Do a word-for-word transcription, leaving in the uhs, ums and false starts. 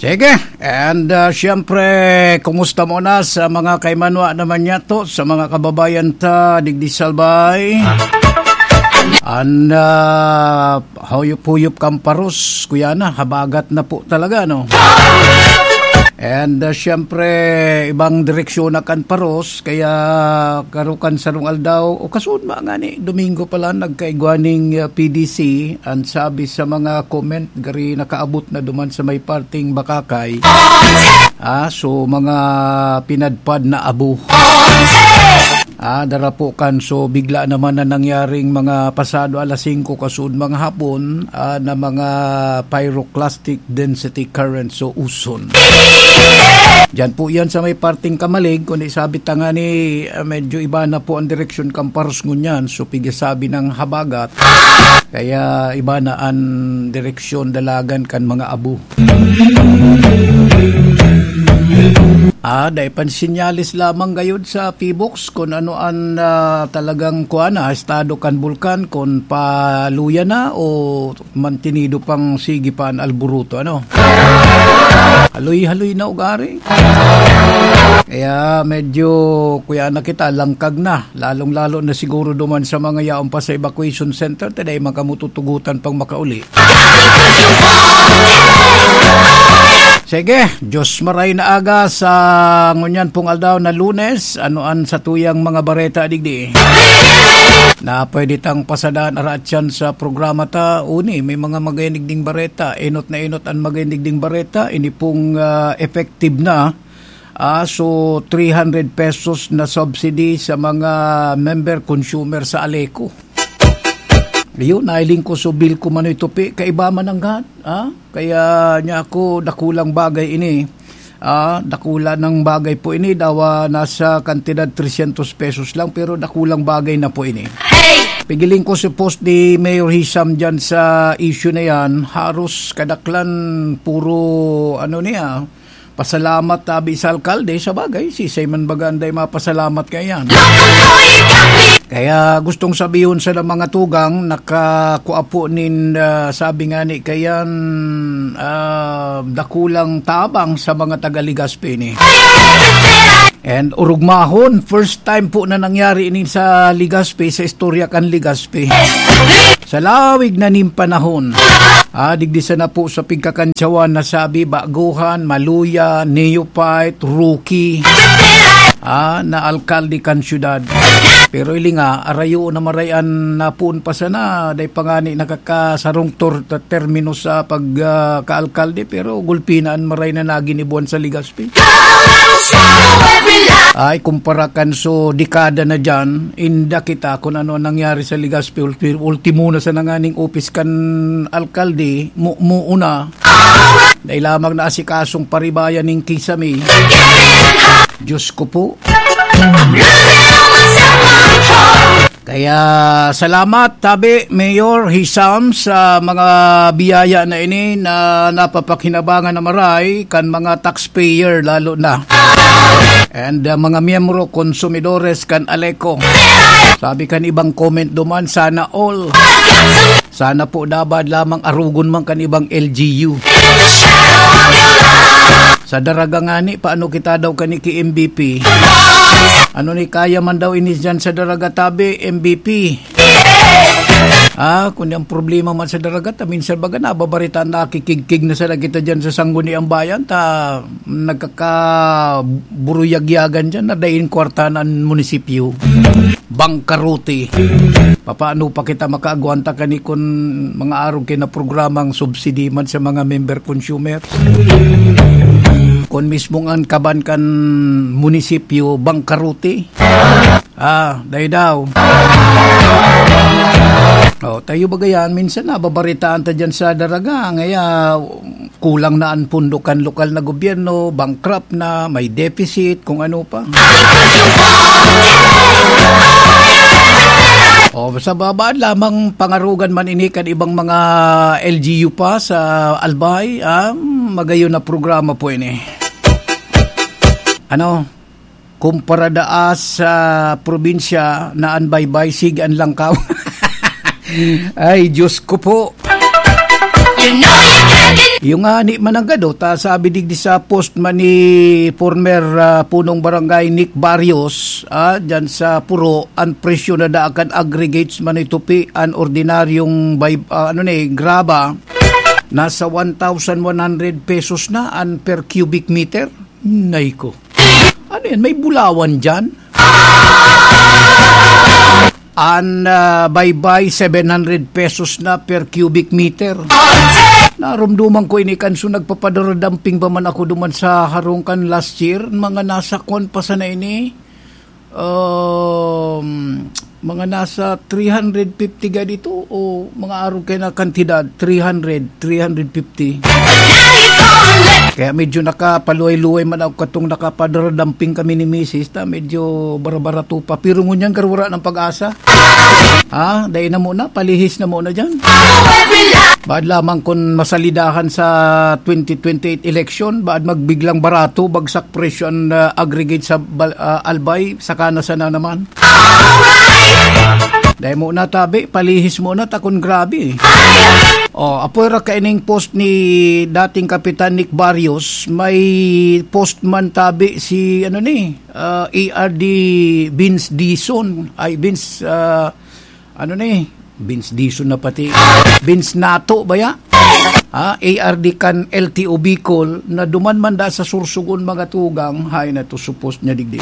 Sige. And, ah, siyempre, kumusta mo na sa mga kaimanwa naman yato, sa mga kababayan ta, digdi sa Albay? An, ah, huyop-huyop kan paros, kuya na, habagat na po talaga, no? And, ah, siyempre, ibang direksyon na kan paros, kaya karukan sarong aldaw, o kasunod mga ni, Domingo pala, nagkaigwa ning, ah, P D C, ang sabi sa mga comment, gari nakaabot na duman sa may parting Bakakay. Ah, so mga pinadpad na abo. Ah, darapo kan, so bigla naman na nangyaring mga pasado alas singko kasuod mga hapon, ah, na mga pyroclastic density current, so uson. Diyan po yan sa may parting Kamalig, kundi sabi ta nga ni, ah, medyo iba na po ang direksyon kan paros ngunyan, so pigasabi ng habagat, kaya iba na ang direksyon dalagan kan mga abo. Ah, dai pansinyalis lamang gayud sa Pibox kung ano an, ah, talagang kuwan na estado kan bulkan, kung paluya na o mantinido pang sige pa an alburuto, ano? Haloy-haloy na ugari. Kaya medyo, kuya na kita, langkag na. Lalong-lalo na siguro duman sa mga yaon pa sa evacuation center, ta dai man kamo tutugotan pang makauli. Sige, Diyos maray na aga sa ngunyan pong aldaw na Lunes. Ano an satuyang mga bareta digdi na pwede tang pasadaan aratyan sa programa ta? Uni, may mga magayon digding bareta. Enot na enot an magayon digding bareta. Ini pong, ah, effective na. Ah, so, three hundred pesos na subsidy sa mga member consumer sa Aleco. Ayun, nailing ko, so bill ko man ito, pi, kaiba man ang gat, ah? Kaya niya ako, dakulang bagay ini. Ah, dakula ng bagay po ini, dawa nasa kantidad trescientos pesos lang, pero dakulang bagay na po ini. Pigiling ko si post ni Mayor Hisam dyan sa issue na yan. Haros kadaklan, puro, ano niya, pasalamat tabi sa alkalde. Sa bagay, sisay man baga anday mapasalamat kaya yan. Kaya gustong sabihon sa mga tugang, nakakua po nin, ah, sabi nga ni kayan, ah, dakulang tabang sa mga taga Legazpi ni. And urugmahon, first time po na nangyari ini sa Legazpi, sa istorya kan Legazpi. Sa lawig na nin panahon, ah, digdi sana po sa pigkakantsawan na sabi, baguhan, maluya, neophyte, rookie, ah, na alkalde kan syudad. Pero ili nga, arayo na maray an napoon pa sana, dai pa ngani nakakasarong tor-, termino sa pag, ah, kaalkalde, pero gulpi na an maray na naginibuan sa Legazpi. Ay, kumpara kan so dekada na dyan, inda kita kung ano ang nangyari sa Legazpi. Ulti-, ultimo na sa nanganing opis kan alkalde, mu-, muuna. Dai lamang na asikasong paribayan ning kisame. Diyos ko po. Kaya salamat, tabi, Mayor Hisam, sa mga biyaya na ini na napapakhinabangan na maray kan mga taxpayer lalo na. And, uh, mga miyembro, konsumidores kan Aleco. Sabi kan ibang comment duman, sana all. Sana po dapat lamang arugon man kan ibang L G U. Sa Daraga ngani, paano kita daw kani ki M V P? Ano ni kaya man daw ini dyan sa Daraga tabi, M V P? Ah, kung ang problema man sa Daraga, ta minsan baga nababaritaan, nakikigkig na sana kita dyan sa Sangguniang Bayan, ta nagkakaburuyagyagan dyan, na daing kwarta na ang munisipyo. Bangkarote. Papaano pa kita makaagwanta kani kun mga arog kay na programang subsidy man sa mga member consumer? Kun mismong ang kaban kan munisipyo, bangkarote. Ah, dai daw. Oh, tayo bagayan, minsan nababaritaan ta dyan sa Daraga, ngaya kulang na an pondo kan lokal na gobyerno, bankrupt na, may deficit, kung ano pa. O, sa babaan lamang pangarugan man ini kan ibang mga L G U pa sa Albay, ah, magayon na programa po ini. Ano? Kumpara daa sa probinsya na an baybay, sige an langkaw. Ay, Diyos ko po. You know you can't get Yung nga ni mananggado, ta sabi digdi sa post man ni former, ah, punong barangay Nick Barrios, ah, dyan sa Puro, ang presyo na daan kan aggregates man itupi, ang ordinaryong bay-, ah, ano ni, graba, nasa one thousand one hundred pesos na ang per cubic meter. Nay ko. Ano yan? May bulawan dyan? An, ah, baybay, seven hundred pesos na per cubic meter. Narumduman ko ini kan so nagpapadara-dumping pa man ako duman sa harong kan last year. Mga nasa kwan pa sana ini. Um, mga nasa three hundred fifty ga dito o mga arog kaya na kantidad, three hundred, three hundred fifty. Kaya medyo nakapaluway-luway man ako katong nakapadara-dumping kami ni misis, ta medyo barabarato pa. Pero ngunyan, garwara ng pag-asa. Ha? Dai na muna, palihis na muna dyan. Baad lamang kun masalidahan sa twenty twenty-eight election, baad magbiglang barato, bagsak presyo an, ah, aggregate sa bal-, ah, Albay, saka na sana naman. Dai muna tabi, palihis muna, takon grabe. Oh, apoy ra kaining post ni dating Kapitan Nick Barrios, may post man tabi si, ano ni, ah, A R D Vince Dizon, ay, Vince, ah, ano ni, Vince Dizon na pati, Vince Nato ba ya? Ha? A R D kan L T O Bicol, na duman man da sa Sorsogon, mga tugang, hay na to supos niya digdi.